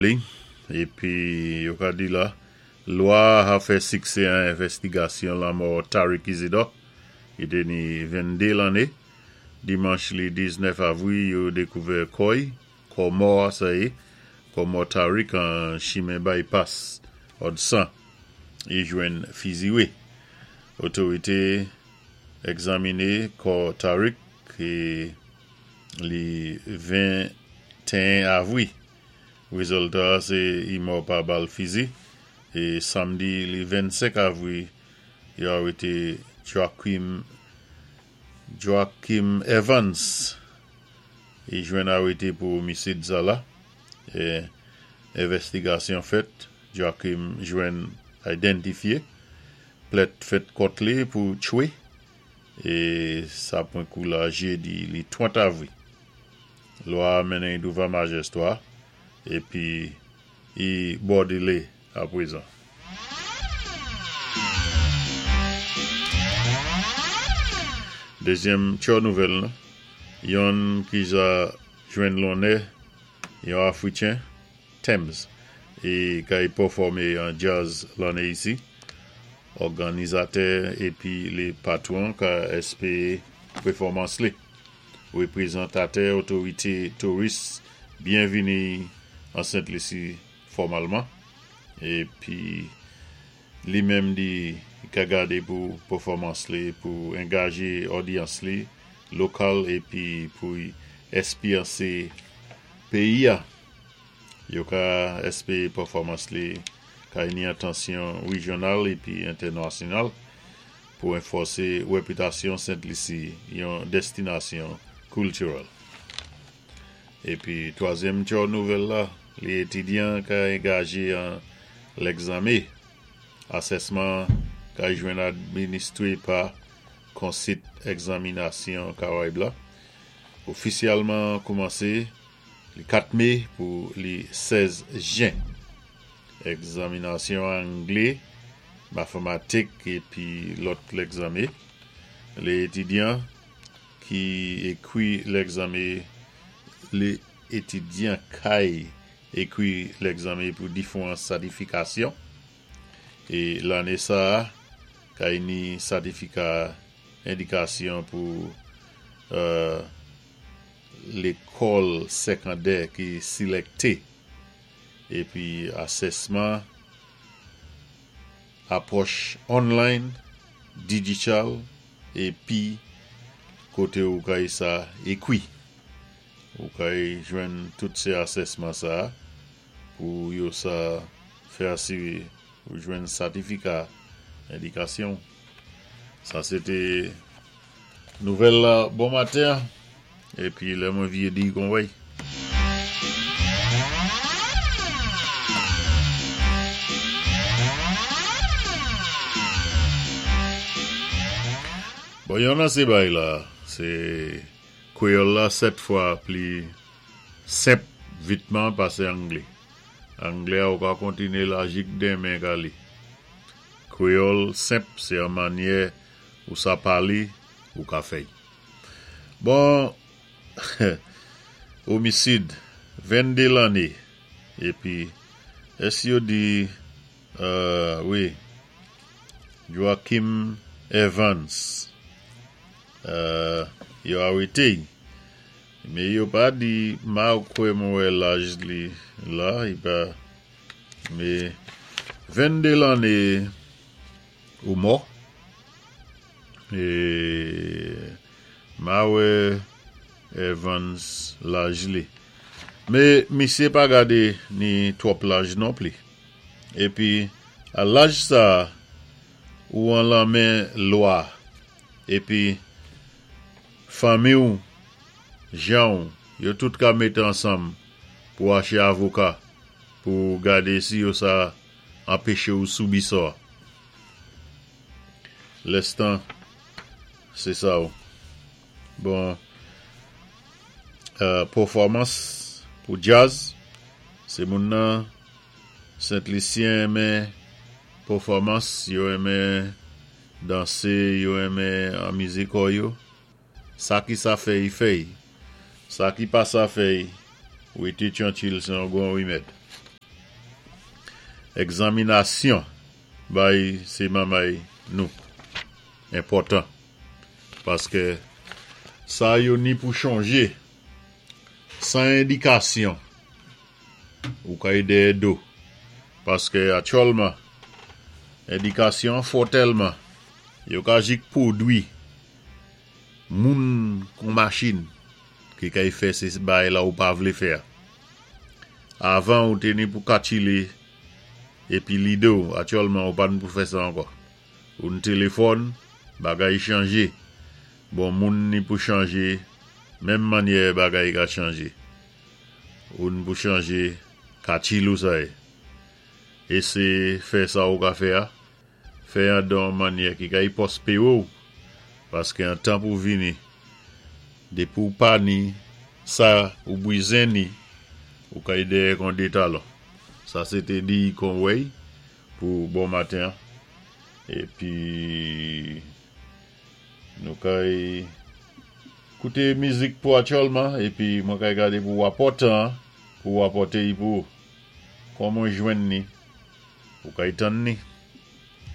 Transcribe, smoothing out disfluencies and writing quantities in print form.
Li, épi yo ka di la, lwa a fè siksé an envèstigasyon lanmò Tariq Isidore, ki té ni 22 lanné. Dimanch li 19 avwi, yo dékouvè kò-y, kò mò a sa yé, kò mò Tariq an chimen Bypass Hudson, i jwenn fiziwé. Otorité egzaminé kò Tariq li 21 avwi. Rézilta sé i mò pa bal fizi. É samdi li 25 avwi, yo arété Joaquim Evans. I jwenn arété pou omisid sa la. É envèstigasyon fèt, Joaquim jwenn idantifyé. Plent fèt kont li pou tchwé. É sa pwan kou la jédi li 30 avwi. Lwa mennen douvan majistra épi i bòdilé apwézan. Dézyèm tjò nouvèl nou, yonn ki ja jwenn lonnè, yon Afwitjen, Tems, é kay pèfòmé an djaz lanné isi. Òganizatè épi lé patwon ka èspéwé pèfòmans li. Wépwézantatè otorité touris byenvini an Sent Lisi fòmalman épi li menm di i ka gadé pou pèfòmans li pou angajé odyans li lokal épi pou èspyansé péyi-a. Yo ka èspéwé pèfòmans li kay ni atansyon wéjyonal épi entènasyonal pou ranfòsé wépitasyon Sent Lisi yon dèstinasyon kiltirèl. Épi twazyèm tjò nouvèl la, lé étidyan ka angajé an lègzanmé. Asèsman kay jwenn administwé pa Konsit Egzaminasyon Karayib la. Ofisyèlman koumansé li 4 mé pou li 16 jen. Egzaminasyon anglé, matématik épi lòt lègzanmé. Lé étidyan ki ékwi lègzanmé, lé étidyan kay ékwi lègzanmé pou diféwan satifikasyon. É lanné sa kay ni satifika édikasyon pou lékòl sékondè ki silèkté. Épi asèsman apwòch online, digital, épi koté ou kay sa ékwi. Ou kay jwenn tout sé asèsman sa pou yo sa fè asiwé ou jwenn satifika édikasyon. Sa sé té nouvèl la bon maten épi lè mwen vyé di kon wèy. Bon, yon nan sé bay la, sé kwéyòl la 7 fwa pli senp vitman pasé anglé. Anglé a ou ka kontiné la jik denmen ka li. Kwéyòl senp sé an mannyè ou sa palé ou ka fèy. Bon, omisid, 22 lanné, épi èsi yo di, wi, Joaquim Evans, yo arété-y. Mé yo pa di, ma kwè mwen wè laj li la, i pa, mé 22 lanné ou mò. É ma wè Evans laj li. Mé misyé pa gadé ni twòp laj non pli. Épi a laj sa ou an lanmen lwa épi fanmi-w, jan-w, yo tout ka mété ansanm pou aché avoka pou gadé si yo sa anpéché-w soubi sò. Lèstan sé sa ou. Bon, pèfòmans pou djaz, sé moun nan Sent Lisyen renmen pèfòmans, yo renmen dansé, yo renmen anmizé kò yo. Sa ki sa fèy fèy. Sa ki pa sa fèy, wété tyankil sé yon bon wimèd. Egzaminasyon bay sé manmay nou enpòtan paské sa yo ni pou chanjé san endikasyon ou kay dèyè do paské aktyèlman endikasyon fò tèlman yo ka jik pwodwi moun kon machin ki kay fè sé bagay la ou pa vlé fè a. Avan ou té ni pou kakilé épi lidé ou, aktyèlman ou pa ni pou fè sa ankò. Ou ni téléfòn, bagay chanjé. Bon moun ni pou chanjé menm mannyè bagay ka chanjé. Ou ni pou chanjé kakil ou sa-é. Éséyé fè sa ou ka fè a, fè an dan mannyè ki kay pwospéwé ou paské an tan pou vini dépi ou pa ni sa ou bwizen ni ou kay dèyè kon dé talon. Sa sé té di kon wèy pou bon maten an. Épi nou kay kouté mizik pou aktyèlman épi mwen kay gadé pou wapòtan an pou wapòté-y pou ou. Kon mwen jwenn ni ou kay tann ni.